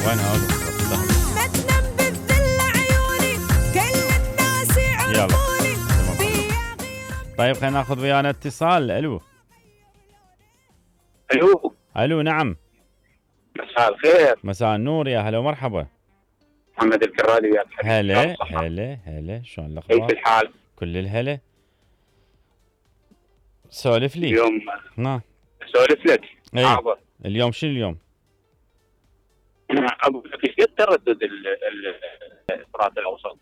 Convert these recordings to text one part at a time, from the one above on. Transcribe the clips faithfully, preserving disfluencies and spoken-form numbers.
وين هذا؟ ما تنام بالذل عيوني كل الناس يعرفوني. طيب خلينا ناخذ ويانا اتصال. الو الو الو نعم. مساء الخير. مساء النور، يا هلا ومرحبا. محمد الكرادي يا حبيبي. هلا هلا هلا، شلون الاخبار؟ كيف الحال؟ كل الهلا. سولف لي. اليوم نعم اسولف لك. ايه. حاضر. اليوم شنو اليوم؟ اقول لك ايش قد تردد الفرات الاوسط؟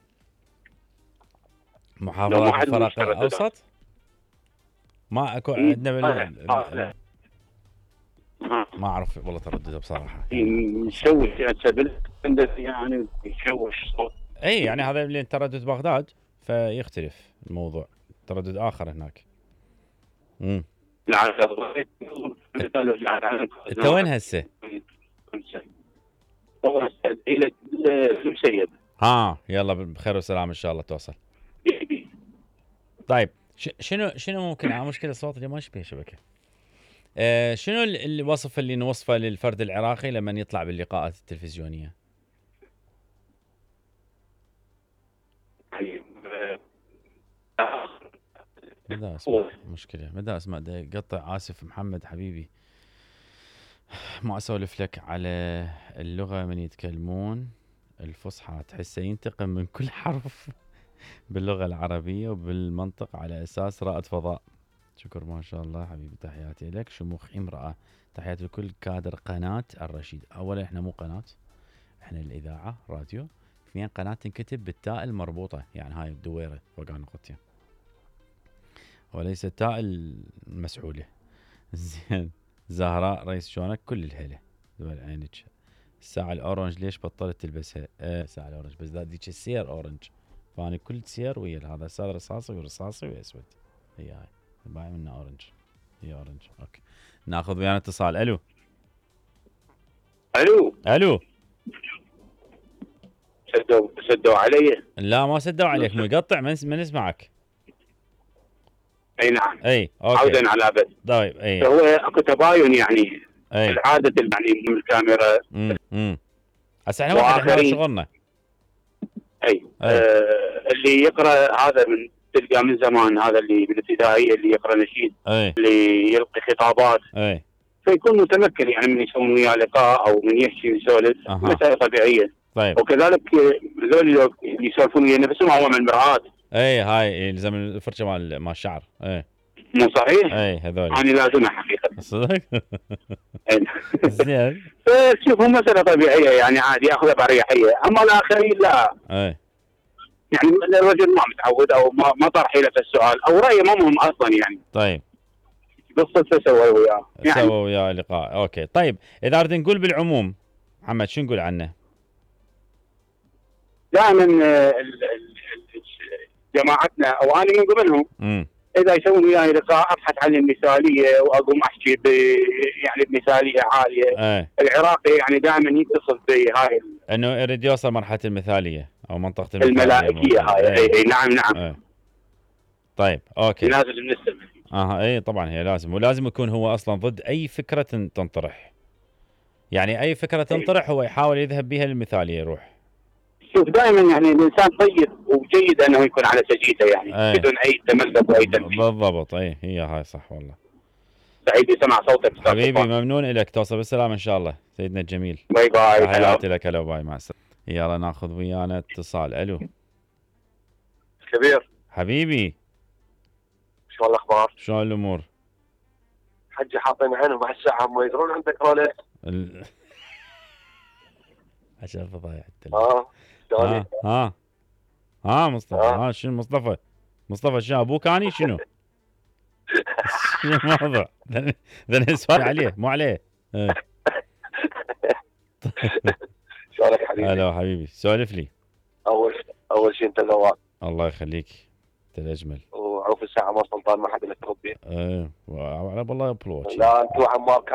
محافظات الفرات الاوسط؟ ما اكو عندنا بال... ما اعرف والله تردده بصراحه. يشوش يعني يشوش صوت. اي يعني هذا اللي تردد بغداد فيختلف الموضوع، تردد اخر هناك. امم لا انت وين هسه؟ الى المسيب. ها يلا بخير وسلام ان شاء الله توصل. طيب شنو شنو ممكن اه مشكله الصوت اللي ما يشبه شبكه. آه شنو الوصف اللي نوصفه للفرد العراقي لما يطلع باللقاءات التلفزيونيه؟ ماذا اسمع مشكله ماذا اسمع قطع. اسف محمد حبيبي، ما اسولف لك على اللغه من يتكلمون الفصحى تحسه ينتقم من كل حرف باللغه العربيه وبالمنطق على اساس رائد فضاء. شكر ما شاء الله حبيبي، تحياتي لك. شموخ امراه، تحياتي لكل كادر قناه الرشيد. اولا احنا مو قناه، احنا الاذاعه راديو. اثنين قناه تنكتب بالتاء المربوطه، يعني هاي الدويره فوق نقطتين وليس التاء المسعوله. زين. زهراء رئيس شلونك؟ كل الهلا دول عينك. الساعه الاورنج ليش بطلت تلبسها؟ اه الساعه الاورنج بس ذيك السير اورنج، فاني كل سير ويا هذا الساد رصاصي ورصاصي واسود. هي هاي باين منها اورنج، هي اورنج. اوكي ناخذ ويانا اتصال. الو الو الو. سدوا سدوا علي؟ لا ما سدوا عليك، مقطع من من اسمعك. اي نعم. اي اوكي. عودا على بد. طيب اي هو اكو تباين يعني اي العاده يعني من الكاميرا. امم امم هسه احنا واحد احنا شغلنا. اي, أي. آه اللي يقرا هذا من تلقى من زمان، هذا اللي بالابتدائيه اللي يقرا نشيد، أي. اللي يلقي خطابات، اي فيكون متمكن يعني من يسوي وياه لقاء او من يحكي ويسولف. أه. مسألة طبيعيه. طيب. وكذلك ذول اللي يسولفون ويا نفسهم هو من المرآة. اي هاي يلزم الفرشه مال مال الشعر. اي مو صحيح؟ اي هذول انا لازمها حقيقه. صدق؟ زين. فتشوفوا مساله طبيعيه يعني عادي ياخذها باريحيه، اما الاخرين لا. اي يعني الرجل ما متعود او ما ما طرح له السؤال او رايه ما مهم اصلا يعني. طيب بالصدفه سوى وياه يعني سوى وياه لقاء. اوكي طيب اذا اريد نقول بالعموم محمد شو نقول عنه؟ دائما جماعتنا او انا من ضمنهم امم اذا يسوون وياي لقاء ابحث عن المثاليه واقوم احكي ب يعني بمثاليه عاليه. ايه. العراقي يعني دائما يتصل بهاي انه يريد يوصل مرحله المثاليه او منطقه المثاليه الملائكيه هاي. اي ايه. نعم نعم. ايه. طيب اوكي. لازم نستمع. اها اي طبعا هي لازم، ولازم يكون هو اصلا ضد اي فكره تنطرح. يعني اي فكره تنطرح هو يحاول يذهب بها للمثاليه يروح. شوف دائما يعني الانسان طيب وجيد انه يكون على سجيته يعني أي. بدون اي تملق واي تنفيذ. بالضبط. اي هي هاي صح والله. سعيد يسمع صوتك حبيبي، ممنون لك. توصل بالسلامه ان شاء الله سيدنا الجميل. باي باي. تحياتي لك. هلا باي مع السلامه. يلا ناخذ ويانا اتصال. الو كبير حبيبي، شو الاخبار؟ شلون الامور؟ حجي حاطين عينهم بعد ساعه ما يدرون عندك رولكس. ال... عشان فضايح التلفزيون. اه ها ها ها مصطفى. ها شنو مصطفى؟ مصطفى شنو ابوك اني شنو؟ شنو الموضوع؟ ذا سؤال عليه مو عليه. شلونك حبيبي؟ هلا حبيبي، سولف لي. اول اول شيء انت ذواق. الله يخليك، انت الاجمل. وعوف الساعه ما سلطان ما حد له تربي. ايه على بالله بلوش. لا انت وعمار